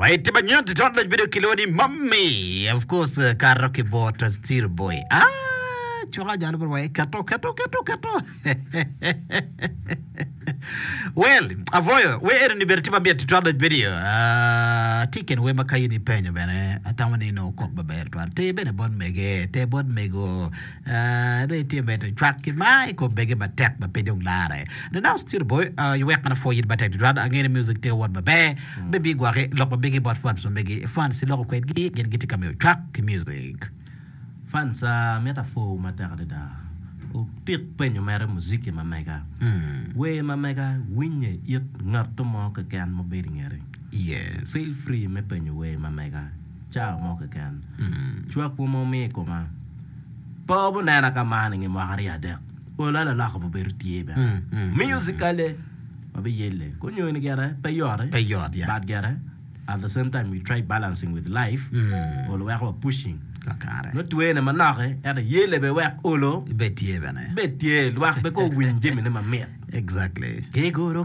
Alright, tye manyen tutwal lac bedo kilwongo ni Mommy. Of course, kato ki bot Steel Boy. Ah, cwaka jalo bro wae keto keto keto keto. Well, avoyo, we eno ni bene tye mamit tutwal lac bedo. Ah, tye kin wer ma ka in ipenyo bene, atamo ni nongo kok maber tutwal. Ter bene bot mege, ter bot mego. Dong itye medo cwak ki mar i kom mege matek ma pe dong larre. The now still boy, iwek mana pwoyi matek tutwal. Angeyo ni music tye ka wot maber. Bene bigwoki lok ma megi bot fans ma megi. Fans iloko kwedgi, gin gitye ka miyo cwak ki music. Fans, amito apwowu matek adada. Wutik penyo mere muziki ma mega. Wer ma mega winye it ngatto mo keken ma obedo i ngeti. Yes. Feel free me penyo wer ma mega cawa mo keken. Cwakwu ma wumiyo i koma. Pe wubinena ka man i nge mwaka aryo adek, olo laloko bibedo tye bene. Musically, wabiyelle. Konyoni gire pe yot, Pe yot, yeah. but gire at the same time we try balancing with life, olo weko wa pushing. Kakare. Nongo twene manok ento yelle bene wek olo Ibed tye bene. bed tye, lwak bene kong owiny jamine mamit. Exactly. Ki guru.